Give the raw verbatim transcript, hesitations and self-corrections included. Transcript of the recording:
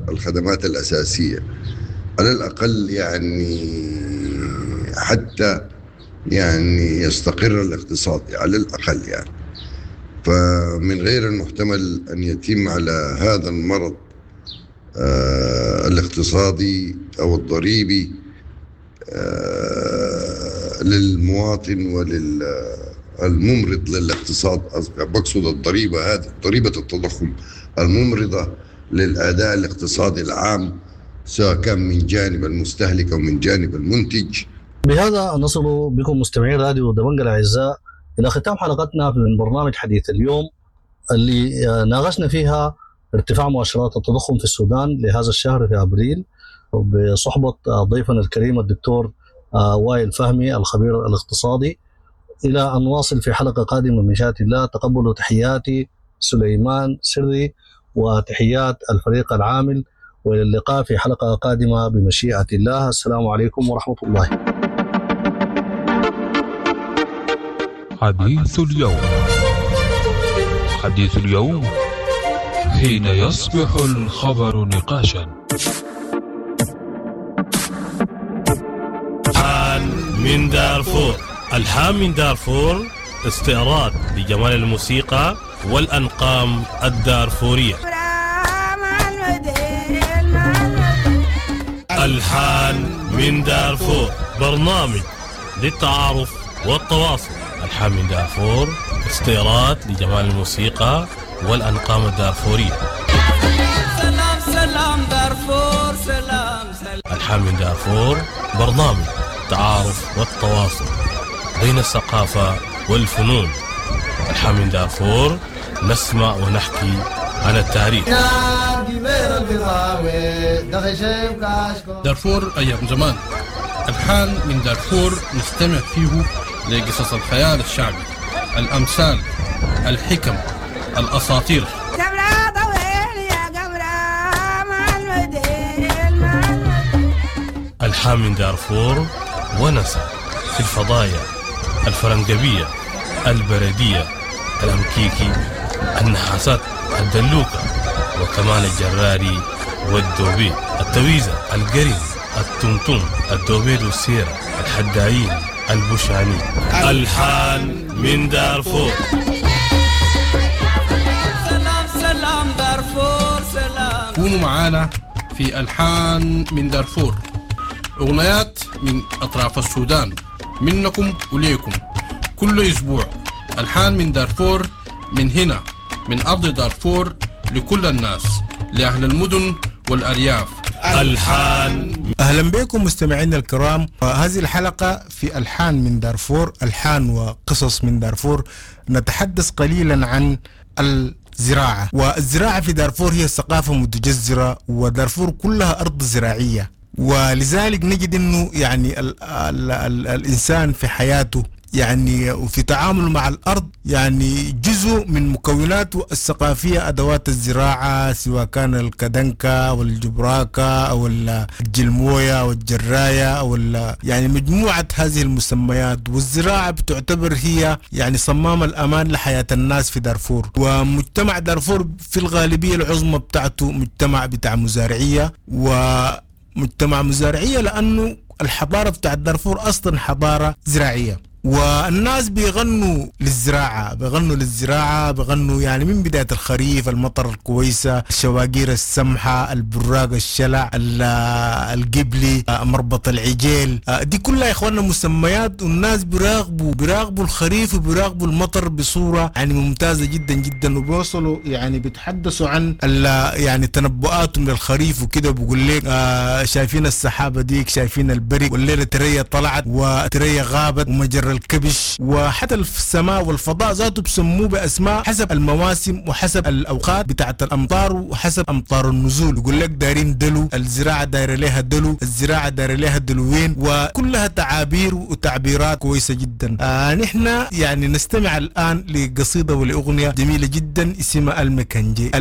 الخدمات الأساسية على الأقل، يعني حتى يعني يستقر الاقتصاد على الأقل يعني. فمن غير المحتمل أن يتم على هذا المرض آه الاقتصادي أو الضريبي آه للمواطن وللممرض للاقتصاد، بقصد الضريبة هذه ضريبة التضخم الممرضة للأداء الاقتصادي العام، سواء كان من جانب المستهلك أو من جانب المنتج. بهذا نصل بكم مستمعين راديو دبنقا الأعزاء إلى ختام حلقتنا من برنامج حديث اليوم اللي ناقشنا فيها ارتفاع مؤشرات التضخم في السودان لهذا الشهر في أبريل، بصحبة ضيفنا الكريم الدكتور وائل فهمي الخبير الاقتصادي. إلى أن نواصل في حلقة قادمة من مشيئة الله، تقبلوا تحياتي سليمان سري وتحيات الفريق العامل، وإلى اللقاء في حلقة قادمة بمشيئة الله. السلام عليكم ورحمة الله. حديث اليوم، حديث اليوم حين يصبح الخبر نقاشا. من دارفور، الحان من دارفور، استعراض لجمال الموسيقى والأنقام الدارفورية. الحان من دارفور، برنامج للتعارف والتواصل. الحان من دارفور، استعراض لجمال الموسيقى والأنقام الدارفورية. سلام سلام دارفور، سلام سلام. الحان من دارفور، برنامج التعارف والتواصل بين الثقافة والفنون. الحان من دارفور، نسمع ونحكي عن التاريخ. دارفور أيام زمان. الحان من دارفور نستمع فيه لقصص الخيال الشعبي، الأمثال، الحكم، الأساطير. الحان من دارفور ونسى في الفضايا الفرنجبية، البردية، الأمكيكي، النحاسات، الدلوكة، وكمان الجراري والدوبي، التويزة، القرين، التمتم، الدوبيد والسيرة، الحدايين، البشاني. الحان من دارفور. سلام سلام دارفور، سلام. كونوا معانا في ألحان من دارفور، أغنيات من أطراف السودان، منكم وليكم كل أسبوع. ألحان من دارفور، من هنا من أرض دارفور، لكل الناس، لأهل المدن والأرياف. ألحان. أهلا بكم مستمعينا الكرام، هذه الحلقة في ألحان من دارفور، ألحان وقصص من دارفور. نتحدث قليلا عن الزراعة، والزراعة في دارفور هي ثقافة متجذرة، ودارفور كلها أرض زراعية، ولذلك نجد أنه يعني ال ال ال الإنسان في حياته يعني وفي تعامله مع الأرض يعني جزء من مكوناته الثقافية أدوات الزراعة، سواء كان الكدنكة والجبراكة أو الجلموية والجراية أو يعني مجموعة هذه المسميات. والزراعة بتعتبر هي يعني صمام الأمان لحياة الناس في دارفور، ومجتمع دارفور في الغالبية العظمى بتاعته مجتمع بتاع مزارعية، ومجتمع مزارعية لأنه الحضارة بتاعت دارفور أصلا حضارة زراعية، والناس بيغنوا للزراعة، بيغنوا للزراعة، بيغنوا يعني من بداية الخريف، المطر الكويسة، الشواقير السمحة، البراق الشلع، القبلي، مربط العجيل، دي كلها يا إخواننا مسميات، والناس بيراقبوا بيراقبوا الخريف وبيراقبوا المطر بصورة يعني ممتازة جدا جدا، وبيوصلوا يعني بيتحدثوا عن يعني تنبؤاتهم للخريف وكده، بيقول لك آه شايفين السحابة ديك، شايفين البرق، والليلة ترية طلعت وترية غابت ومجر الكبش، وحتى السماء والفضاء ذاته بسموه بأسماء حسب المواسم وحسب الأوقات بتاعت الأمطار وحسب أمطار النزول. يقول لك دارين دلو، الزراعة دايرة لها دلو، الزراعة دايرة لها دلوين، وكلها تعابير وتعبيرات كويسة جدا. آه نحن يعني نستمع الآن لقصيدة ولأغنية جميلة جدا اسمها المكنجي.